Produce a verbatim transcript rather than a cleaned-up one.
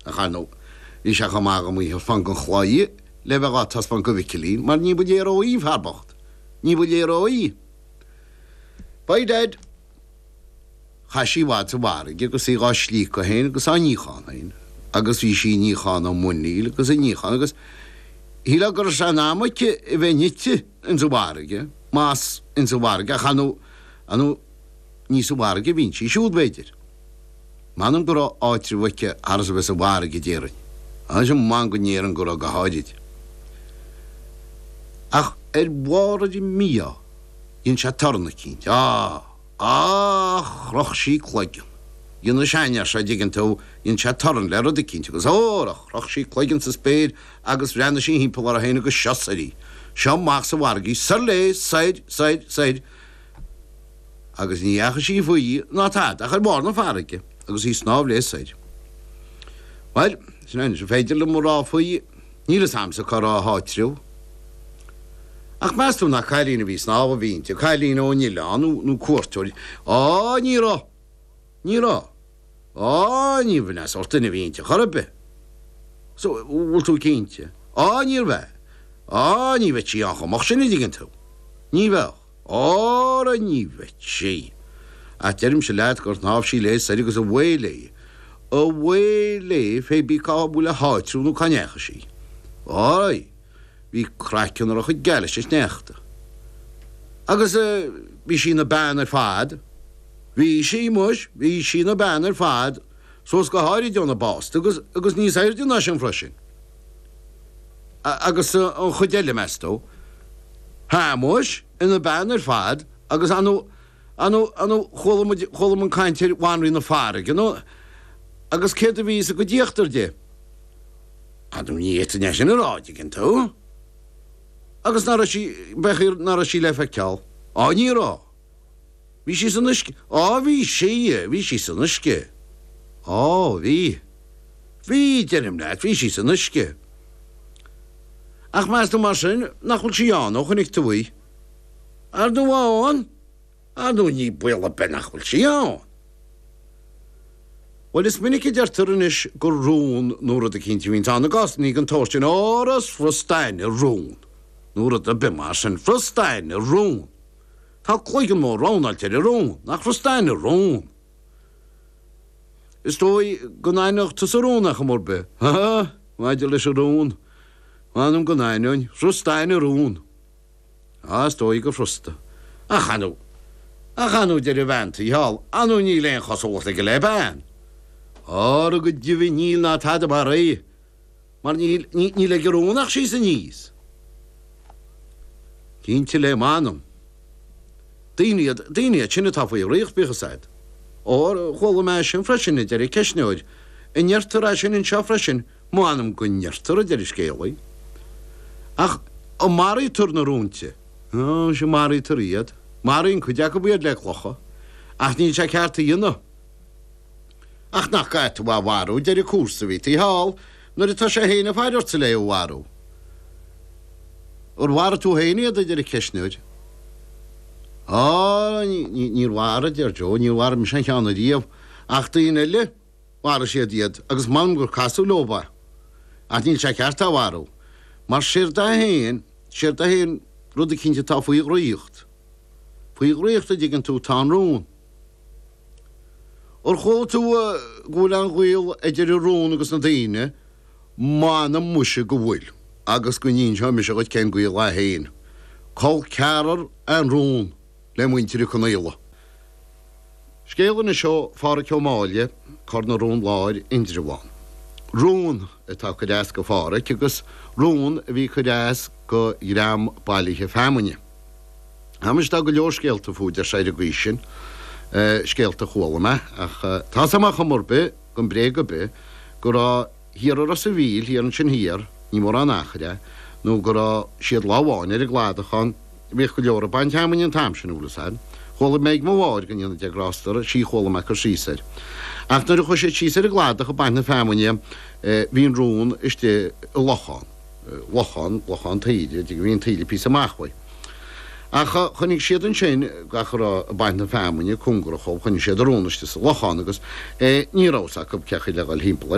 Ach ar ndóigh, bhí sé chomh maith agam í a thaispeáint don chlaí le bheith á taispeáint do Mhicilín, mar ní ba léir í, an fear bocht. Ní ba léir í. Bye, Dad. Chaith sí i bhfad sa bhfarraige agus í dhá slíocadh féin agus á níochán féin. Agus bhí sí ag níochán a muiníl agus ag níochán agus shílfeá go raibh sé in am aici a bheith nite ins an bhfarraige, más ins an bhfarraige, ach ar ndóigh, ar ndóigh, ní sa bhfarraige a bhíonn sí siúd, b'fhéidir. M'anam go raibh áitreabh aici thar is a bheith sa bhfarraige, déarfainn. Anois m'anam go ndéarfainn go raibh go háirid. Ach ar bharr ar an mí-ádh, dhein sé torann eicínt. Á! Á! Chroch sí cloigeann. Dhein an seanfhear seo, an dtuigeann tú, dhein sé torann le rud eicínt agus óra! Chroch sí cloigeann sa spéir agus bhreathnaigh sí thimpeall uirthi féin agus seo soir í. Seo amach sa bhfarraige í. Soir léi, soir, soir, soir. Agus ní dheachaigh sí faoi ná tada ach ar bharr na farraige agus í ag snámh léi soir. Bhuel, sin é anois, an féidir liom a rá faoi, níl fhios a'msa cá raibh a háitreabh. Ach meas tú nach cailín a bhí ag snámh a bhí inti, cailín ón oileán nó, nó cuairteoir? Á, ní raibh! Ní raibh! Á, ní b'in é sórt duine a bhí inti chor ar bith. So, bhfuil tú cinnte? Á, níorbh ea. Á, ní bheadh sí ann chomh moch sin, an dtuigeann tú. Ní bheadh. Óra ní bheadh sí. Ach deirimse leat gur shnámh sí léi soir agus away léi. Away léi fé bí cá bhfuil a háitreabh nó cá ndeachaigh sí. Ói, bhí craiceann uirthi chomh geal leis an sneachta. Agus bhí sí ina bean ar fad. Bhí sí, muis, bhí sí ina bean ar fad, suas go háirid óna básta agus, agus níos airde ná sin freisin. Agus an chuid eile, meas tú? Hea, muis, ina bean ar fad agus ar ndóigh, ar ndóigh, ar ndóigh, chuala muid, chuala muid caint ar bhanríon na farraige, nó, agus céard a bhí sa gcuid íochtair di? Ar ndóigh, ní fhéadfainn é sin a rá, an dtuigeann tú. Agus ná raibh sí, b'fhéidir ná raibh sí le feiceáil. Á, ní raibh. Bhí sí san uisce. Á, bhí sí, bhí sí san uisce. Á, bhí. Bhí, deirim leat, bhí sí san uisce. Ach meas tú mar sin nach bhfuil sí ann ó chonaic tú í? Ar ndóigh ann! Ar ndóigh ní baol ar bith nach bhfuil sí ann! Bhuel, is minic a deirtear anois gur rún nó rud eicínt a bhíonns ann i gcásannaí den tsórt sin, óra is furasta aithne ar rún nó rud ar bith mar sin, furasta aithne ar rún! Tá cloigeann mór roundáilte ar an rún, nach furasta aithne ar rún! Is dóigh go n-aithneodh tusa rún ar chuma ar bith. Ha ha! Maidir leis an rún, m'anam go n-aithneoinn, furasta aithne ar rún. Á, is dóigh gur furasta. Ach ar ndóigh, ach ar ndóigh, deir an bhean tí thall, ar ndóigh níl aon chosúlacht aige le bean. Óra go deimhin níl ná tada mar é, mar níl, níl ag an rún ach síos aníos. Cinnte le m'anam. Daoine iad, daoine iad sin atá faoi dhraíocht, bíodh fhios a'd. Óir, chuala mé é sin freisin, a deir an ceistneoir. An ndeirtear é sin anseo freisin? M'anam go ndeirtear, a deir an scéalaí. Ach an maraítear na rúinte? Ó, sea, maraítear iad. Maraíonn cuid acu iad le clocha. Ach níl sé ceart a dhéanamh. Ach nach gcaithfidh tú é a mharú, a deir an comharsa a bhí taobh thall, nuair atá sé féin ag faire ortsa le é a mharú. Ar mharaigh tú féin iad, a deir an ceistneoir. Á, níor mharaigh, a deir Joe, níor mharaigh mise aon cheann ariamh, ach daoine eile, mharaigh siad iad, agus m'anam gur casadh leo é. Ach níl sé ceart é a mharú, mar séard é féin, séard é féin rud eicínt atá faoi dhraíocht. Faoi dhraíocht, a dtuigeann tú, tá an rún. Ar chuala tú go bhfuil an-ghaol idir an rún agus na daoine? M'anam muise go bhfuil, agus go n-inseoidh mise dhuit cén gaol é féin. Col ceathrar é an rún le muintir Uí Chonaola. Scéal anois ó Phádhraic Ó Máille, Cor na Rón Láir, Indreabhán. Rún atá ag cur as go Phádhraic agus rún a bhí ag cur as go dhream bailithe feamainne. Tá muis, tá go leor scéalta fúthu, deir sé, ar an gcaoi sin, scéalta a chuala mé, ach tá 's a'm ar chuma ar bith, gan bréag ar bith, go raibh thiar i Ros a' Mhíl, thiar ansin thiar, ní mórán achair é, nó go raibh siad lá amháin ar an gcladach ann, bhíodh go leor ag baint feamainne an t-am sin, an bhfuil 'fhios a'd. Chuala mé ag mo mháthair, go ndéana Dia grásta uirthi, sí a chuala mé cur síos air. Ach nuair a chuaigh siad síos ar an gcladach ag baint na feamainne, bhí an rún istigh i lochán. lochán, lochán taoide, bhí an taoille píosa amach uaidh. Ach choinnigh siad ansin, gach a raibh ag baint na feamainne, cóngarach dhóibh, choinnigh siad an rún istigh sa lochán agus ní raibh fhios acu cén chaoi le dhul thimpeall air.